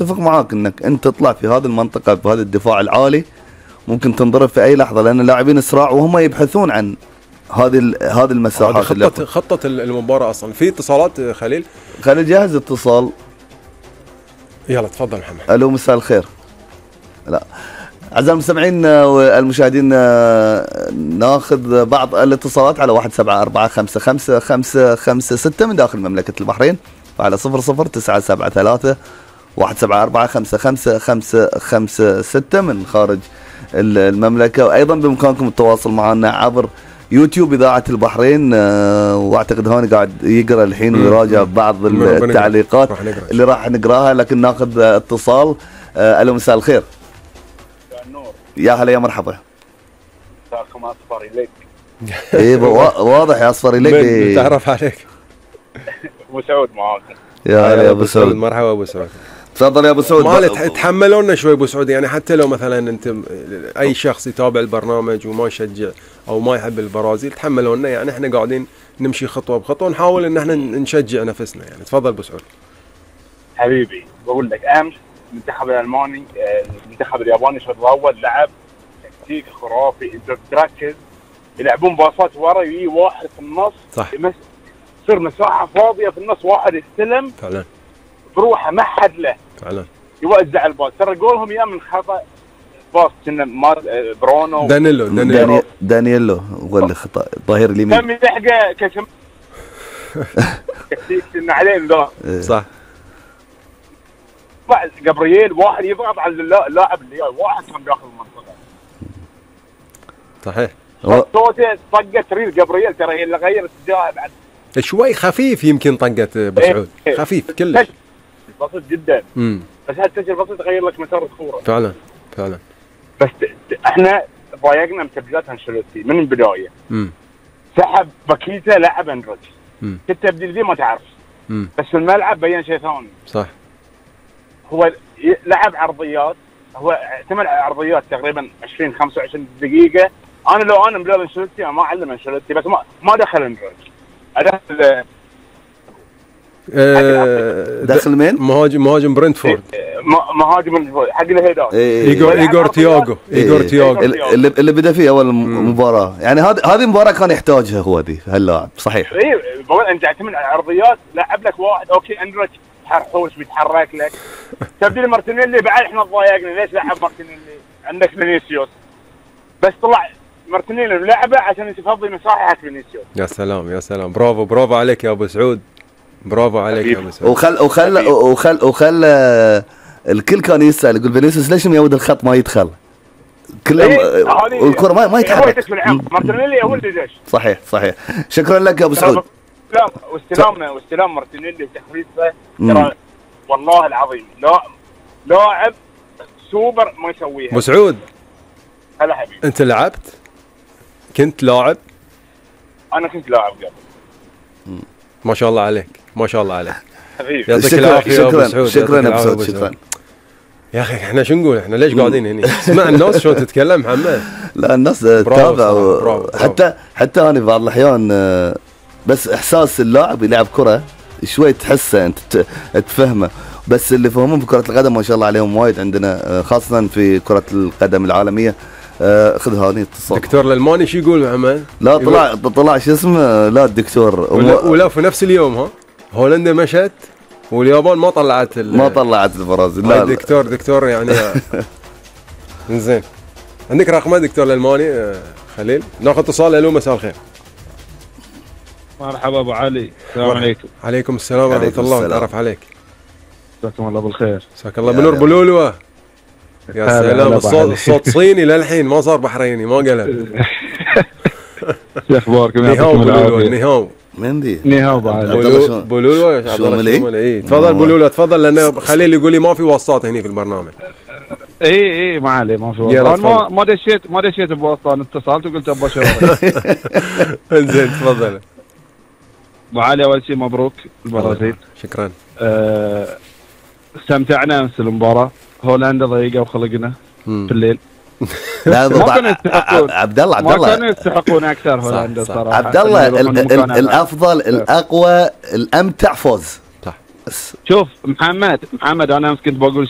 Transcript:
اتفق معاك انك انت تطلع في هذه المنطقه بهذا الدفاع العالي ممكن تنضرب في اي لحظه، لان اللاعبين اسراع وهم يبحثون عن هذه المساحات. هذه خطه المباراه اصلا. في اتصالات خليل جاهز اتصال. يلا تفضل محمد. الو مساء الخير. لا اعزائي المستمعين والمشاهدين، ناخذ بعض الاتصالات على 174555556 من داخل مملكه البحرين، وعلى 00973 174555556 من خارج المملكه. وايضا بامكانكم التواصل معنا عبر يوتيوب اذاعه البحرين، واعتقد هاني قاعد يقرا الحين ويراجع بعض التعليقات اللي راح نقراها، لكن ناخذ اتصال. الو مساء الخير. يا هلا يا مرحبا. مساكم اصفر اليك. ايه واضح يا اصفر اليك. تعرف عليك. ابو سعود معاكم. يا هلا يا ابو سعود. مرحبا ابو سعود. تفضل يا ابو سعود. ما تحملونا شوي ابو سعود، يعني حتى لو مثلا انت اي شخص يتابع البرنامج وما يشجع او ما يحب البرازيل، تحملونا، يعني احنا قاعدين نمشي خطوه بخطوه ونحاول ان احنا نشجع نفسنا. يعني تفضل ابو سعود. حبيبي بقول لك امس المنتخب الالماني المنتخب الياباني الشوط الاول لعب تكتيك خرافي. انت تركز يلعبون باصات ورا، يجي واحد في النص صح، تصير مساحه فاضيه في النص، واحد يستلم فعلا بروحه ما حد له فعلا يوزع الباص. ترى جولهم يا من خطا باص كنا برونو دانييلو هو اللي خطا ظهير اليمين كم يلحقه كشم تكتيك كنا عليه انذار. صح. جبريل واحد يضغط على اللاعب اللي واحد كان داخل المنطقه. صحيح. صوته طقه تريد جبريل، ترى هي اللي غير اتجاهه بعد شوي خفيف، يمكن طقه ابو سعود خفيف كلش بسيط جدا. بس هالتسجيل بسيط تغير لك مسار الكوره. فعلا فعلا. بس احنا ضايقنا من تبديلات انشيلوتي من البدايه. سحب باكيتا لعب اندريتش. التبديل دي ما تعرف. بس في الملعب بين شيء ثاني. صح. هو لعب عرضيات، هو اعتمد على عرضيات تقريبا 20 25 دقيقه. انا لو انا مدرب انشيلوتي ما اعلم انشيلوتي، بس ما دخل اندريتش. ادخل داخل مين؟ مهاجم برنتفورد. مهاجم حق الهيدات. ايجور تياغو. اللي بدا فيه اول مباراه، يعني هذه مباراه كان يحتاجها هو ذي هاللاعب. صحيح. اي بقول انت تعتمد على عرضيات، لعب لك واحد اوكي اندريتش حرحوش بيتحرك لك. تبديل مارتينيلي بعد احنا ضايقنا، ليش لعب مارتينيلي؟ عندك فينيسيوس بس طلع مارتينيلي لعبه عشان تفضي مساحه حق فينيسيوس. يا سلام يا سلام، برافو عليك يا ابو سعود، برافو عليك يا ابو سعود. وخل الكل كان يسال يقول فينيسيوس ليش ميود الخط ما يدخل؟ كله والكره ما يتحرك. مارتينيلي هو اللي دش. صحيح. شكرا لك يا ابو سعود. واستلام مارتينيلي وتخليصه ترى والله العظيم لاعب سوبر ما يسويها. ابو سعود هلا حبيبي، انت لعبت؟ كنت لاعب؟ انا كنت لاعب قبل. ما شاء الله عليك، ما شاء الله عليك حبيبي. يعطيك العافيه يا ابو سعود. شكرا ابو سعود. شكرا يا اخي. احنا شو نقول؟ احنا ليش قاعدين هنا؟ اسمع الناس شلون تتكلم محمد. لا الناس تتابع. حتى انا بعض الاحيان بس احساس اللاعب يلعب كره شوي تحسه انت تفهمه، بس اللي فهمون في كره القدم ما شاء الله عليهم وايد عندنا، خاصه في كره القدم العالميه. خذ هذه اتصال. دكتور الالماني شو يقول محمد؟ لا طلع شو اسمه، لا الدكتور ولا في نفس اليوم ها هولندا مشت واليابان ما طلعت البرازيل. لا دكتور يعني زين. عندك رقم دكتور الالماني خليل؟ ناخذ اتصال. الو مساء الخير. مرحبا ابو علي، السلام عليكم. عليكم السلام ورحمه الله. نتعرف عليك. جزاكم الله بالخير. جزاك الله بنور بلولوه. يا سلام. الصوت صيني للحين ما صار بحريني، ما قلب. شو اخباركم؟ نيهاو من دي؟ نيهاو بولولوه. تفضل بولولوه تفضل، لان خليل يقول لي ما في وساطه هنا في البرنامج. اي ما عليه، ما في وساطه. ما دشيت بوساطه، انا اتصلت وقلت ابغى اشوفك. زين تفضل. ابو علي اول شيء مبروك البرازيل. شكرا. استمتعنا امس المباراه. هولندا ضيقه وخلقنا في الليل. لا عبد الله ما كانوا يستحقون اكثر هولندا صراحه. عبد الله الافضل الاقوى الامتع فوز. صح. شوف محمد انا امس كنت بقول شيء